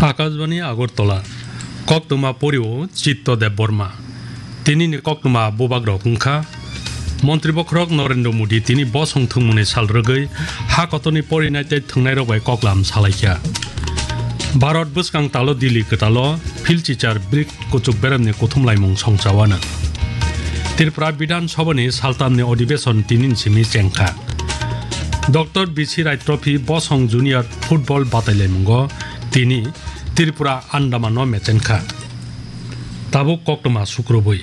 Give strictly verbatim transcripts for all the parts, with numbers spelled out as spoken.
Akashbani Agartala, koktwma porio Chitto Debbarma. Tinini koktwma bubagrok wngkha, Montri bokhorok Narendra Modi tini bosong thwngmungni sal rwgwi ha kotorni porinai tei thwngnairok bai koklam salaikha. Bharat bwskang talo Delhi kwtalo philchichar BRICS kuchuk beremni kuthum laimung songchawana. Tripura Bidhan Sabhani saltamni odhibeson tinin simi chengkha. Doctor B C Rai Trophy bosong junior football batailaimungo tini Tripura Andamanno mechenkha. Tabuk koktwma sukrubwi.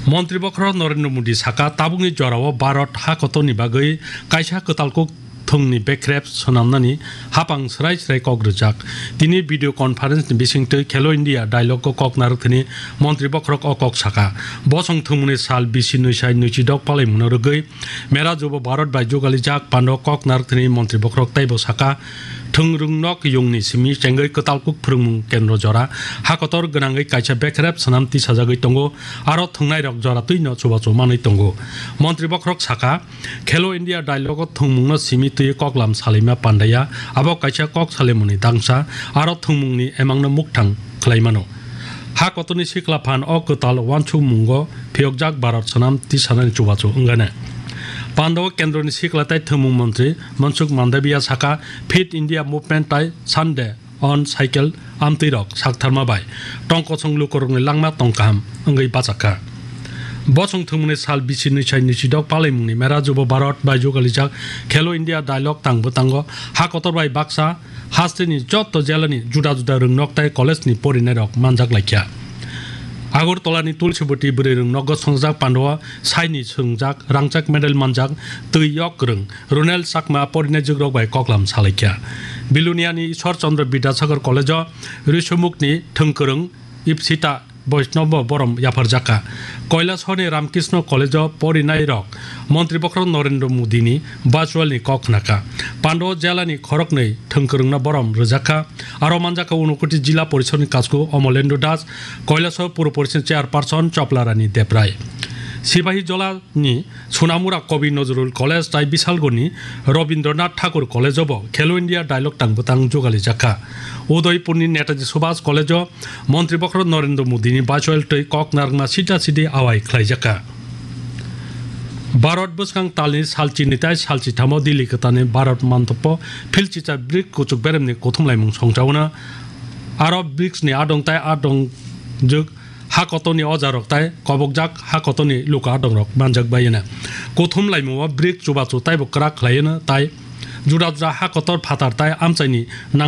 Montri bokhorok Narendra Modi saka, tabukni jorao Bharat ha kotorni bagwi kaisa kwtal kuk thwngni bekrep swnamnani hapang srai srai kok rwjak. Tini video conference ni bisingtwi Khelo India Dialogue o kok narwkthani Montri bokhorok o kok saka. Bosong thwngmungni sal bisi nwi sai nwichidok palaimungno rwgwi Mera Jubo Bharat bai jugalijak pando kok narwkthani Montri bokhorok teibo saka, thwng rwngnok yungni simi chengwi kwtal kuk phwrwngmung kendro jora ha kotor gwnangwi kaisa bekrep swnam tisajagwi tongo, aro thwngnairok jora twino chubachu manwi tongo. Montri bokhorok saka, Khelo India Dialogue o thwngmungno simi twi koklam salaima pandaya, abo kaisa kok salaimungni dangsa, aro thwngmungni emangno mukthang khlaimano. Ha kotorni sikla phan o kwtal uansukmungo phiyokjak Bharat swnam tisanani chubachu wngane. Pando kendroni sikla tei thwngmung montri Mansukh Mandaviya saka, Fit India Movement tai Sunday on cycle amtwirok saktharma bai tong kosong lukurokni langma tong kaham wngwi bachakkha. Bosong thwngmungni sal bisi nwi sai nwichidok palaimungni Mera Jubo Bharat bai jugalijak Khelo India Dialogue tang bwtango ha kotor bai baksa hasteni jotto jelani juda juda rwngnok tei college ni porinairok manjak laikha. Agartala ni Tulsibati bwrwi rwngnogo swngjak pando saini swngjak rangchak medal manjak twi yok rwng Ronel Chakma porinai jugrok bai koklam salaikha. Biluniani Ishwar Chandra Bidyasagar College o Risumukni thwngkwrwng Ipsita Vaishnav bo borom yapharjakha. Kailasahar ni Ramkrishna College o porinairok Montri bokhorok Narendra Modi ni virtual ni kok khnakha. Pando jela ni khoroknwi thwngkwrwngno borom rwjakha. Aro manjakha Unakoti Jila Porishod ni kasku Amalendra Das, Kailasahar Puro Porishod ni Chairperson Chopla Rani Debrai. Sipahijola ni Sonamura Kavi Nazrul College tai Bisalgor ni Rabindranath Thakur College o bo Khelo India Dialogue tang bwtang jugalijak kha. Udaipur ni Netaji Subhas College o Montri bokhorok Narendra Modi ni virtual twi kok narwkna sida sidi awai khlaijak kha. Bharat bwskang talni salchini tai salchithamo Delhi kwtalni Bharat Mandap o philchicha BRICS kuchuk beremni kuthumlaimung songchauna. Aro BRICS ni adong tai adong jwk ha kotorni ojarok tai kobokjak ha kotorni luka adongrok manjak bai hwnwi. Kuthum laimungo BRICS chubachu taibo kwrak khlai hwnwi tai juda juda ha kotor phatar tai amchaini nang